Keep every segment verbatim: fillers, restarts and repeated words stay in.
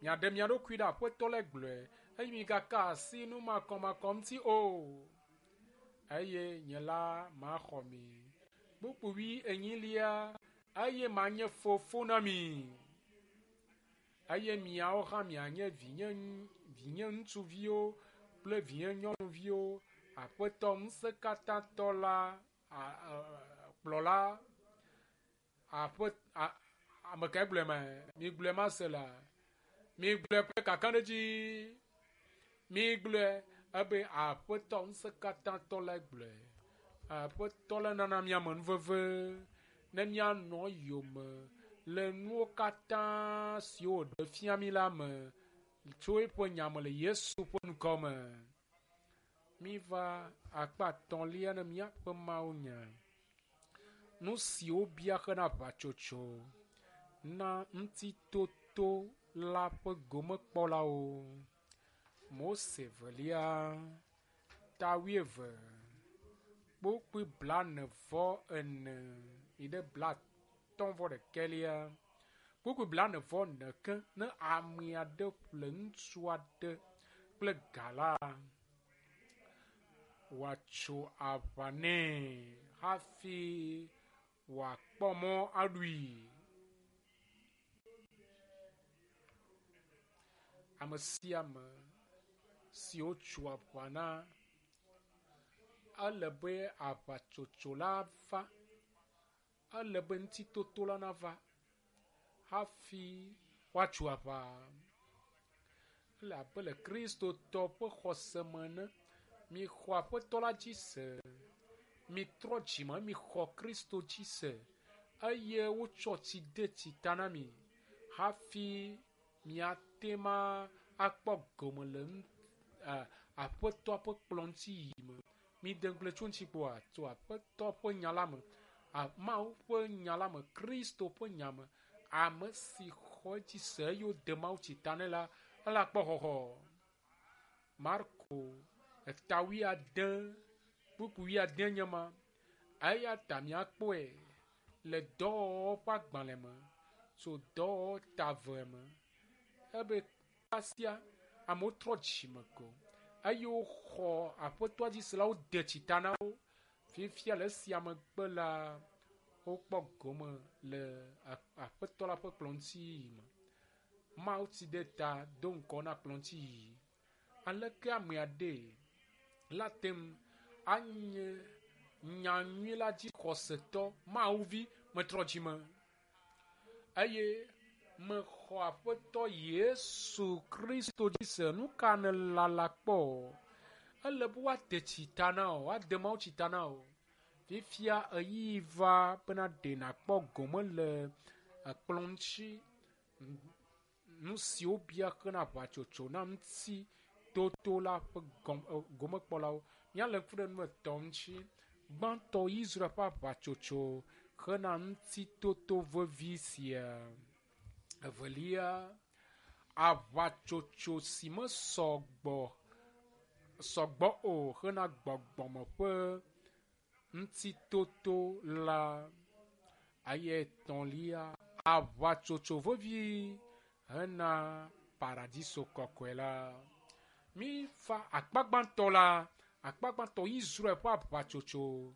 Miaɖe mia ɖokui ɖe Aƒetɔ la gblɔe eye migaka asi numakɔmakɔ ŋuti o. Eye nye la maxɔ mi. Kpukpui wui enyilia eye manye fofo na mi. Eye miawo hã mianye vinye vinye ŋutsuviwo kple vinye nyɔnuviwo. Aƒetɔ ŋusẽkatãtɔ la a, a, kplɔla aƒe a, ame kae gblɔe ma? Migblɔe mase la. Migblɔe ƒe kakaɖedzi. Migblɔe ebe Aƒetɔ ŋusẽkatãtɔ lae gblɔe. Aƒetɔ la nana miame nuveve ne mianɔ yome le nuwo katã siwo wòɖe fia mi la me tso eƒe nya me le Yesu ƒe ŋkɔ me. Miva akpa atɔ̃lia ne míaƒe Mawu nya. Nu siwo bia hena aʋatsotso na ŋutitoto la ƒe gomekpɔlawo. Mose velia ta wuieve kpukpui blaene vɔ ene yi ɖe blatɔ̃ vɔ ɖekɛlia. Kpukpui blaene vɔ ene ke ne ame aɖe ƒle ŋutsu aɖe kple ga la, wòatso aʋa nɛ hafi wòakpɔ mɔ aɖui. Ame sia ame si wotso aʋa na, ele be aʋatsotso la va, ele be ŋutitoto la nava hafi woatso aʋa. Ele abe le Kristotɔ ƒe xɔse me ene. Mixɔ Aƒetɔ la dzi se. Mitrɔ dzime mixɔ Kristo dzi se eye wotsɔ tsi de tsi ta na mi hafi miate ma akpɔ gome le Aƒetɔa ƒe kplɔ ŋuti yiyi me. Mide ŋugble tso ŋuti kpoa tso Aƒetɔ ƒe nya la me, Mawu ƒe nya la me, Kristo ƒe nya me. Ame si xɔ edzi se eye wode Mawu tsi ta nɛ la, ele akpɔ xɔxɔ. Marko eta wuiade kpukpui wuiade nye ma. Eya ta miakpɔe le dɔwɔwɔ ƒe agbalẽ me tso dɔwɔwɔ ta eve me. Ebe kasia amewo trɔ dzime ko eye woxɔ Aƒetɔa dzi se la wode tsi ta na wo. Fifia le esia megbe la, wokpɔ gome le Aƒetɔ la ƒe kplɔ ŋuti yiyi me. Mawu tsi ɖe ta do ŋgɔ na kplɔ ŋuti yiyi. Aleke ame aɖe la te ŋu anye nyanyui la dzi xɔsetɔ Mawu vi metrɔ dzime eye mexɔ Aƒetɔ Yesu Kristo dzi se. Nu ka nèlala kpɔ? Ele be woade tsi ta na wò, woade Mawu tsi ta na wò. Fifia ɣeyiɣi va bena ɖe nàkpɔ gome le ekplɔ ŋuti. Nu siwo bia hena aʋatsotso na ŋutitoto la ƒe gomekpɔlawo. Míalé ŋku ɖe nu etɔ̃ ŋuti. Gbãtɔ Israel ƒe aʋatsotso hena ŋutitoto vevi sia. Evelia, aʋatsotso si mesɔgbɔ sɔgbɔ o hena gbɔgbɔme ƒe ŋutitoto la. Eye etɔ̃lia, aʋatsotso vevi hena paradiso kɔkɔe la. Mífa akpa gbãtɔ la, akpa gbãtɔ Israel ƒe aʋatsotso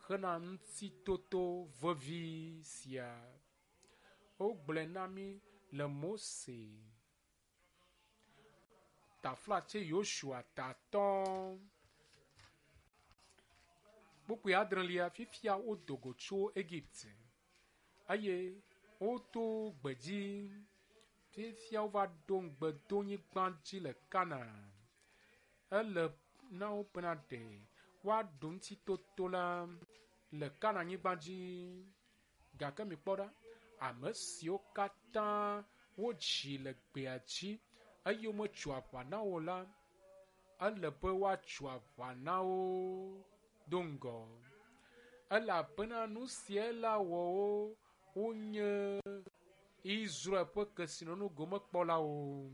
hena ŋutitoto vevi sia. Wogblɔe na mí le Mose taflatse Yosua tatɔ kpukpui adrelia fifia wodo go tso Egipte eye woto gbedzi. Fifia wova ɖo ŋugbedonyigba dzi le Kanaan. Ele na wo bena ɖe woaɖu ŋutitoto la le Kanaanyigba dzi. Gake mikpɔ ɖa, ame siwo katã wodzi le gbea dzi eye wometso aʋa na wo la, ele be woatso aʋa na wo do ŋgɔ. Elabena nu sia la wɔ wo wonye Israel ƒe kesinɔnu gomekpɔlawo.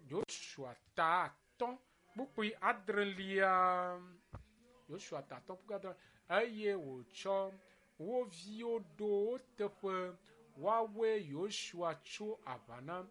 Yosua ta atɔ̃ kpukpui adrelia. Yosua ta atɔ̃ kpukpui adrelia eye wòtsɔ wo viwo ɖo wo teƒe. Woawoe Yosua tso aʋa na